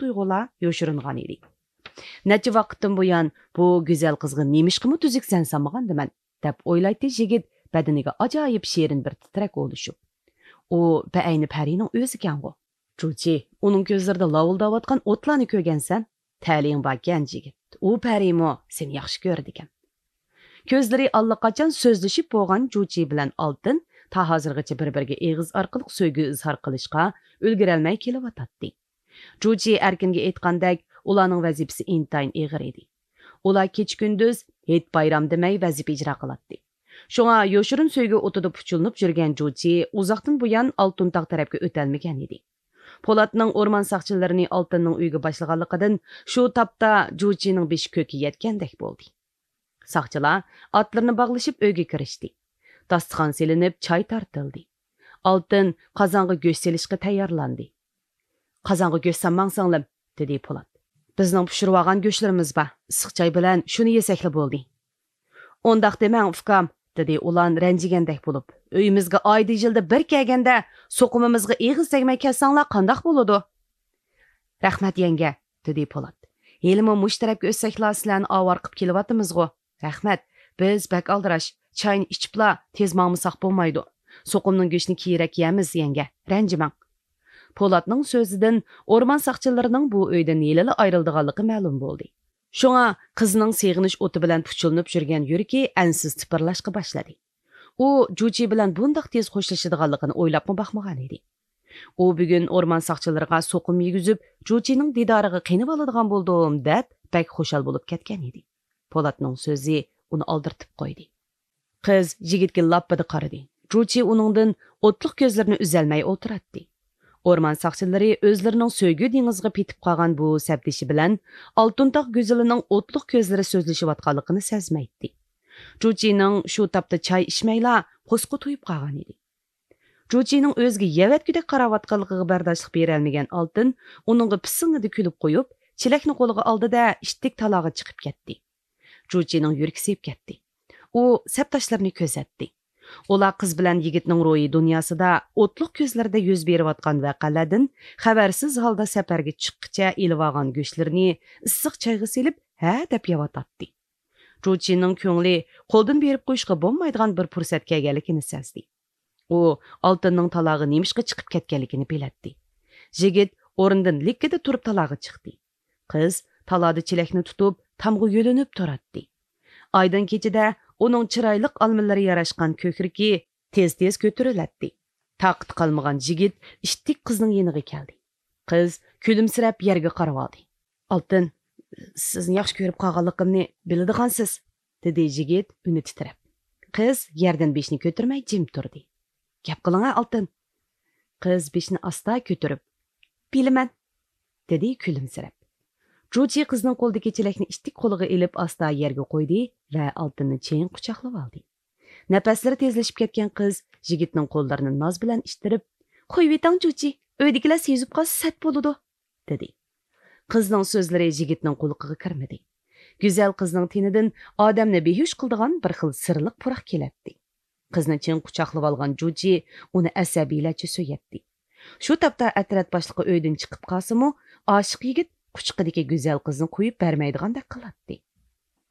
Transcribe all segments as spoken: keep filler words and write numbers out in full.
تۇيغۇلار يوشۇرۇنغان ئىدى. نەچچە ۋاقىتتىن بۇيان بۇ گۈزەل قىزغا نېمىشقىمۇ تۈزۈك سەن سالمىغاندىمەن، دەپ ئويلايتتى يىگىت بەدىنىگە ئاجايىپ شېرىن بىر تىترەك ئولىشىپ. ئۇ بەئەينى پەرىنىڭ ئۆزىكەنغۇ. جۇچى، ئۇنىڭ كۆزلىرىدە لاۋۇلداۋاتقان ئوتلارنى كۆرگەنسەن؟ تەلىيىڭ باركەن، يىگىت. ئۇ پەرىمۇ سېنى ياخشى كۆرىدىكەن. كۆزلىرى ئاللىقاچان سۆزلىشىپ بولغان جۇچى بىلەن ئالتىن تا ھازىرغىچە بىر-بىرىگە ئېغىز ئارقىلىق سۆيگۈ ئىزھار قىلىشقا ئۈلگۈرەلمەي كېلىۋاتاتتى. جۇچى ئەركىنگە ئېيتقاندەك، ئۇلارنىڭ ۋەزىپىسى ئىنتايىن ئېغىر ئىدى. ئۇلار كېچە-كۈندۈز، ھېيت-بايرام دېمەي ۋەزىپە ئىجرا قىلاتتى. شۇڭا يوشۇرۇن سۆيگۈ ئوتىدا پۇچۇلۇنۇپ يۈرگەن جۇچى ئۇزاقتىن بۇيان ئالتۇن تاغ تەرەپكە ئۆتەلمىگەن ئىدى. پولاتنىڭ ئورمان ساقچىلىرىنى ئالتىننىڭ ئۆيىگە باشلىغانلىقىدىن شۇ تاپتا جۇچىنىڭ بېشى كۆككە يەتكەندەك بولدى. ساقچىلار ئاتلىرىنى باغلىشىپ ئۆيگە كىرىشتى. داستىخان سېلىنىپ، چاي تارتىلدى. ئالتىن قازانغا گۆش سېلىشقا تەييارلاندى. «قازانغا گۆش سالماڭ، سىڭلىم»، دېدى پولات. «بىزنىڭ پىشۇرۇۋالغان گۆشلىرىمىز بار، ئىسسىق چاي بىلەن شۇنى يېسەكلا بولدى.» «ئۇنداق دېمەڭ، ئۇكام»، دېدى ئۇلان رەنجىگەندەك بولۇپ. «ئۆيىمىزگە ئايدا يىلدا بىر كەلگەندە، سوقۇمىمىزغا ئېغىز تەگمەي كەلسەڭلار قانداق بولىدۇ؟» «رەھمەت، يەڭگە»، دېدى پولات. «ھېلىمۇ مۇشۇ تەرەپكە ئۆتسەكلا سىلەرنى ئاۋارە قىپ كېلىۋاتىمىزغۇ. رەھمەت، بىز بەك ئالدىراش، چاينى ئىچىپلا تېز ماڭمىساق بولمايدۇ. سوقۇمنىڭ گۆشىنى كېيىنرەك يەرمىز، يەڭگە، رەنجىمەڭ.» پولاتنىڭ سۆزىدىن ئورمان ساقچىلىرىنىڭ بۇ ئۆيدىن ھېلىلا ئايرىلىدىغانلىقى مەلۇم بولدى. شۇڭا قىزنىڭ سېغىنىش ئوتى بىلەن پۇچۇلۇنۇپ يۈرگەن يۈرىكى ئەنسىز تىپىرلاشقا باشلىدى. ئۇ جۇچى بىلەن بۇنداق تېز خوشلىشىدىغانلىقىنى ئويلاپمۇ باقمىغان ئىدى. ئۇ بۈگۈن ئورمان ساقچىلىرىغا سوقۇم يېگۈزۈپ، جۇچىنىڭ دىدارىغا قېنىۋالىدىغان بولدۇم، دەپ بەك خۇشال بولۇپ كەتكەن ئىدى. پولاتنىڭ سۆزى ئۇنى ئالدىرىتىپ قويدى. قىز يىگىتكە لاپپىدە قارىدى. جۇچى ئۇنىڭدىن ئوتلۇق كۆزلىرىنى ئۈزەلمەي ئولتۇراتتى. ئورمان ساقچىلىرى ئۆزلىرىنىڭ سۆيگۈ دېڭىزىغا پېتىپ قالغان بۇ سەپدىشى بىلەن ئالتۇن تاغ گۈزىلىنىڭ ئوتلۇق كۆزلىرى سۆزلىشىۋاتقانلىقىنى سەزمەيتتى. جۇچىنىڭ شۇ تاپتا چاي ئىچمەيلا قۇسقا تويۇپ قالغان ئىدى. جۇچىنىڭ ئۆزىگە يەۋەتكۈدەك قاراۋاتقانلىقىغا بەرداشلىق بېرەلمىگەن ئالتىن ئۇنىڭغا پىسسىڭىدە كۈلۈپ قويۇپ، چېلەكنى قولىغا ئالدى-دە، ئىتتىك تالاغا چىقىپ كەتتى. جۇچىنىڭ يۈرىكى سېۋىپ كەتتى. ئۇ سەپداشلىرىنى كۆزەتتى. ئۇلار قىز بىلەن يىگىتنىڭ روھىي دۇنياسىدا ئوتلۇق كۆزلىرىدە يۈز بېرىۋاتقان ۋەقەلەردىن خەۋەرسىز ھالدا سەپەرگە چىققىچە ئېلىۋالغان گۆشلىرىنى ئىسسىق چايغا سېلىپ، ھە دەپ يەۋاتاتتى. جۇچىنىڭ كۆڭلى قولدىن بېرىپ قويۇشقا بولمايدىغان بىر پۇرسەت كەلگەنلىكىنى سەزدى. ئۇ ئالتىننىڭ تالاغا نېمىشقا چىقىپ كەتكەنلىكىنى بىلەتتى. يىگىت ئورنىدىن لىككىدە تۇرۇپ تالاغا چىقتى. قىز تالادا چېلەكنى تۇتۇپ، تامغا يۆلىنىپ تۇراتتى. ئايدىڭ كېچىدە ئۇنىڭ چىرايلىق ئالمىلىرى ياراشقان كۆكرىكى تېز-تېز كۆتۈرۈلەتتى. تاقىتى قالمىغان يىگىت ئىتتىك قىزنىڭ يېنىغا كەلدى. قىز كۈلۈمسىرەپ يەرگە قارىۋالدى. «ئالتىن، سىزنى ياخشى كۆرۈپ قالغانلىقىمنى بىلىدىغانسىز»، دېدى يىگىت ئۈنى تىترەپ. قىز يەردىن بېشىنى كۆتۈرمەي جىم تۇردى. «گەپ قىلىڭا، ئالتىن.» قىز بېشىنى ئاستا كۆتۈرۈپ، «بىلىمەن»، دېدى كۈلۈمسىرەپ. جۇچى قىزنىڭ قولىدىكى چېلەكنى ئىتتىك قولىغا ئېلىپ ئاستا يەرگە قويدى ۋە ئالتىننى چىڭ قۇچاقلىۋالدى. نەپەسلىرى تېزلىشىپ كەتكەن قىز يىگىتنىڭ قوللىرىنى ناز بىلەن ئىتتىرىپ، «قويۇۋېتىڭ جۇچى، ئۆيدىكىلەر سېزىپ قالسا سەت بولىدۇ.» دېدى. قىزنىڭ سۆزلىرى يىگىتنىڭ قۇلىقىغا كىرمىدى. گۈزەل قىزنىڭ تېنىدىن ئادەمنى بىھۇش قىلىدىغان بىر خىل سىرلىق پۇراق كېلەتتى. قىزنى چىڭ قۇچاقلىۋالغان جۇچى ئۇنى ئەسەبىيلەرچە سۆيەتتى. شۇ تاپتا ئەترەت باشلىقى ئۆيدىن چىقىپ قالسىمۇ، ئاشىق يىگىت قۇچىقىدىكى گۈزەل قىزنى قويۇپ بەرمەيدىغاندەك قىلاتتى.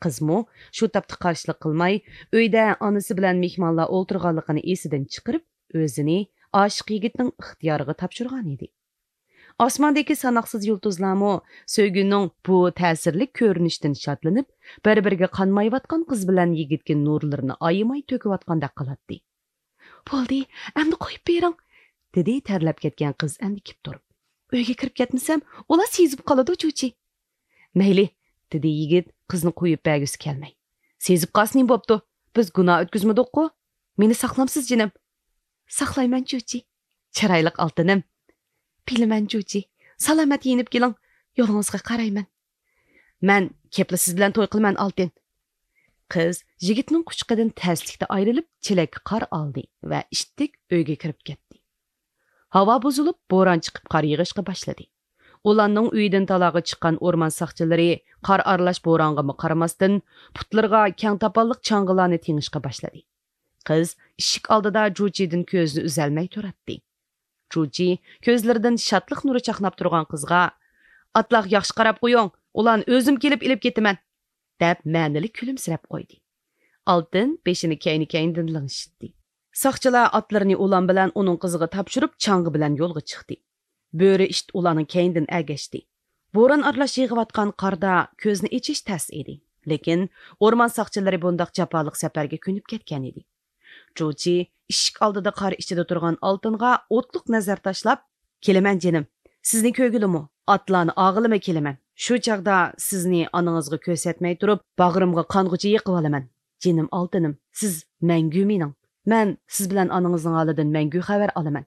قىزمۇ شۇ تاپتا قارشىلىق قىلماي، ئۆيدە ئانىسى بىلەن مېھمانلار ئولتۇرغانلىقىنى ئېسىدىن چىقىرىپ، ئۆزىنى ئاشىق يىگىتنىڭ ئىختىيارىغا تاپشۇرغان ئىدى. ئاسماندىكى ساناقسىز يۇلتۇزلارمۇ سۆيگۈنىڭ بۇ تەسىرلىك كۆرۈنۈشىدىن شادلىنىپ، بىر-بىرىگە قانمايۋاتقان قىز بىلەن يىگىتكە نۇرلىرىنى ئايىماي تۆكۈۋاتقاندەك قىلاتتى. «بولدى، ئەمدى قويۇپ بېرىڭ»، دېدى تەرلەپ كەتكەن قىز ئەندىكىپ تۇرۇپ. «ئۆيگە كىرىپ كەتمىسەم، ئۇلار سېزىپ قالىدۇ جۇچى.» «مەيلى»، دېدى يىگىت قىزنى قويۇپ بەرگۈسى كەلمەي. «سېزىپ قالسا نېمە بوپتۇ؟ بىز گۇناھ ئۆتكۈزمىدۇققۇ؟ مېنى ساقلامسىز جېنىم؟» «ساقلايمەن جۇچى.» «چىرايلىق ئالتىنىم.» «بىلىمەن جۇچى. سالامەت يېنىپ كېلىڭ، يولىڭىزغا قارايمەن.» «مەن كەپلا سىز بىلەن توي قىلىمەن، ئالتىن.» قىز يىگىتنىڭ قۇچىقىدىن تەسلىكتە ئايرىلىپ، چېلەككە قار ئالدى ۋە ئىتتىك ئۆيگە كىرىپ كەتتى. ھاۋا بۇزۇلۇپ، بوران چىقىپ، قار يېغىشقا باشلىدى. ئۇلارنىڭ ئۆيىدىن تالاغا چىققان ئورمان ساقچىلىرى قار ئارىلاش بورانغىمۇ قارىماستىن، پۇتلىرىغا كەڭ تاپانلىق چاڭغىلارنى تېڭىشقا باشلىدى. قىز ئىشىك ئالدىدا جۇچىدىن كۆزىنى ئۈزەلمەي تۇراتتى. جۇچى كۆزلىرىدىن شادلىق نۇرى چاقناپ تۇرغان قىزغا، ئاتلارغا ياخشى قاراپ قويۇڭ، ئۇلارنى ئۆزۈم كېلىپ ئېلىپ كېتىمەن، دەپ مەنىلىك كۈلۈمسىرەپ قويدى. ئالتىن بېشىنى كەينى-كەينىدىن لىڭشىتتى. ساقچىلار ئاتلىرىنى ئۇلان بىلەن ئۇنىڭ قىزىغا تاپشۇرۇپ، چاڭگا بىلەن يولغا چىقتى. بۆرە ئىت ئۇلارنىڭ كەينىدىن ئەگەشتى. بوران ئارىلاش يېغىۋاتقان قاردا كۆزنى ئېچىش تەس ئىدى. لېكىن ئورمان ساقچىلىرى بۇنداق جاپالىق سەپەرگە كۆنۈپ كەتكەن ئىدى. جۇچى ئىشىك ئالدىدا قار ئىچىدە تۇرغان ئالتۇنغا ئوتلۇق نەزەر تاشلاپ، «كېلىمەن جېنىم، سىزنى كۆرگىلىمۇ، ئاتلارنى ئاغىلىمۇ كېلىمەن. شۇ چاغدا سىزنى ئانىڭىزغا كۆرسەتمەي تۇرۇپ، باغرىمغا قانغۇچە يېقىۋالىمەن. جېنىم ئالتىنىم، سىز مەڭگۈ مېنىڭ. مەن سىز بىلەن ئانىڭىزنىڭ ھالىدىن مەڭگۈ خەۋەر ئالىمەن.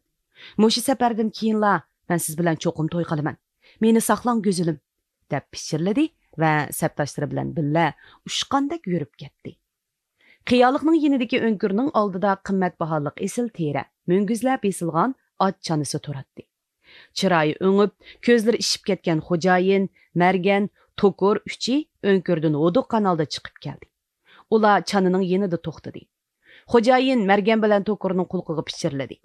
مۇشۇ سەپەردىن كېيىنلا مەن سىز بىلەن چوقۇم توي قىلىمەن. مېنى ساقلاڭ، گۈزىلىم.» دەپ پىچىرلىدى ۋە سەپداشلىرى بىلەن بىللە ئۇچقاندەك يۈرۈپ كەتتى. قىيالىقنىڭ يېنىدىكى ئۆڭكۈرنىڭ ئالدىدا قىممەت باھالىق ئېسىل تېرە، مۈڭگۈزلەر بېسىلغان ئات چانىسى تۇراتتى. چىرايى ئۆڭۈپ، كۆزلىرى ئىششىپ كەتكەن خوجايىن، مەرگەن، توكۇر ئۈچى ئۆڭكۈردىن ھودۇققان ھالدا چىقىپ كەلدى. ئۇلار چانىنىڭ يېنىدا توختىدى. خوجايىن مەرگەن بىلەن توكۇرنىڭ قۇلىقىغا پىچىرلىدى.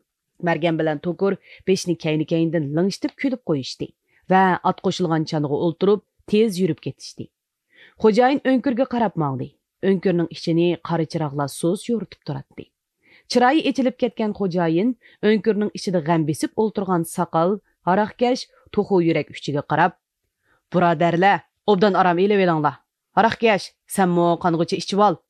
مەرگەن بىلەن توكۇر بېشىنى كەينى-كەينىدىن لىڭشىتىپ كۈلۈپ قويۇشتى ۋە ئات قوشۇلغان چانىغا ئولتۇرۇپ، تېز يۈرۈپ كېتىشتى. خوجايىن ئۆڭكۈرگە قاراپ ماڭدى. ئۆڭكۈرنىڭ ئىچىنى قارا چىراغلار سۇس يورۇتۇپ تۇراتتى. چىرايى ئېچىلىپ كەتكەن خوجايىن ئۆڭكۈرنىڭ ئىچىدە غەم بېسىپ ئولتۇرغان ساقال، ھاراقكەش، توخۇ يۈرەك ئۈچىگە قاراپ، «بۇرادەرلەر، ئوبدان ئارام ئېلىۋېلىڭلار. ھاراقكەش، سەنمۇ قانغۇچە ئىچىۋال.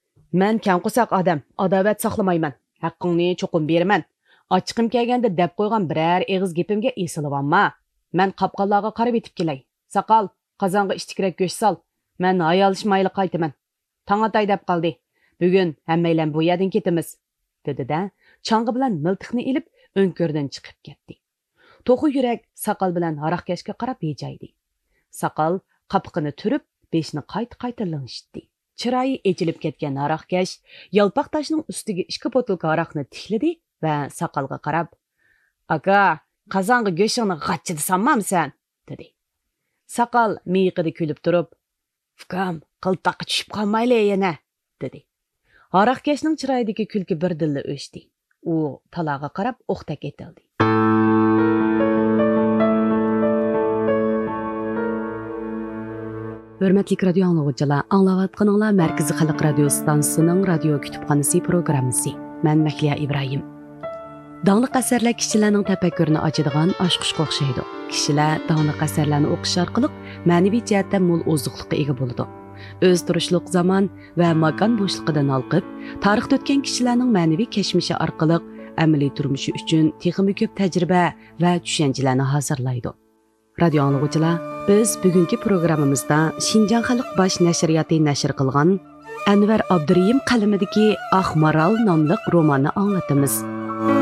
مەن كەڭ قورساق ئادەم، ئاداۋەت ساقلىمايمەن. ھەققىڭنى چوقۇم بېرىمەن. ئاچچىقىم كەلگەندە دەپ قويغان بىرەر ئېغىز گېپىمگە ئېسىلىۋالما. مەن قاپقانلارغا قارىۋېتىپ كېلەي. ساقال، قازانغا ئىچتىكرەك گۆش سال. مەن ھايالشىمايلا قايتىمەن. تاڭ ئاتاي دەپ قالدى. بۈگۈن ھەممەيلەن بۇ يەردىن كېتىمىز.» دېدى-دە، چاڭغا بىلەن مىلتىقنى ئېلىپ، ئۆڭكۈردىن چىقىپ كەتتى. توخۇ يۈرەك ساقال بىلەن ھاراقكەشكە قاراپ ھىجايدى. ساقال قاپىقىنى تۈرۈپ، بېشىنى قايتا-قايتا لىڭشىتتى. چىرايى ئېچىلىپ كەتكەن ھاراقكەش يالپاق تاشنىڭ ئۈستىگە ئىككى بوتۇلكا ھاراقنى تىكلىدى ۋە ساقالغا قاراپ، «ئاكا، قازانغا گۆشۈڭنى غاچچىدا سالمامسەن؟» دېدى. ساقال مىيىقىدا كۈلۈپ تۇرۇپ، «ئۇكام، قىلتاققا چۈشۈپ قالمايلى يەنە.» دېدى. ھاراقكەشنىڭ چىرايىدىكى كۈلكە بىردىنلا ئۆچتى. ئۇ تالاغا قاراپ ئوقتەك ئېتىلدى. ھۆرمەتلىك رادىيو ئاڭلىغۇچىلار، ئاڭلاۋاتقىنىڭلار مەركىزىي خەلق رادىيو ئىستانسىسىنىڭ رادىيو كۇتۇپخانىسى پروگراممىسى. مەن مەھلىيا ئىبراھىم. داڭلىق ئەسەرلەر كىشىلەرنىڭ تەپەككۇرىنى ئاچىدىغان ئاچقۇچقا ئوخشايدۇ. كىشىلەر داڭلىق ئەسەرلەرنى ئوقۇش ئارقىلىق مەنىۋى جەھەتتە مول ئوزۇقلۇققا ئىگە بولىدۇ. ئۆز تۇرۇشلۇق زامان ۋە ماكان بوشلۇقىدىن ھالقىپ، تارىختا ئۆتكەن كىشىلەرنىڭ مەنىۋى كەچمىشى ئارقىلىق ئەمەلىي تۇرمۇشى ئۈچۈن تېخىمۇ كۆپ تەجرىبە ۋە چۈشەنچىلەرنى ھازىرلايدۇ. رادىيو ئاڭلىغۇچىلار، بىز بۈگۈنكى پروگراممىمىزدا شىنجاڭ خەلق باش نەشرىياتى نەشر قىلغان ئەنۋەر ئابدۇرېھىم قەلىمىدىكى ئاق مارال ناملىق روماننى ئاڭلىتىمىز.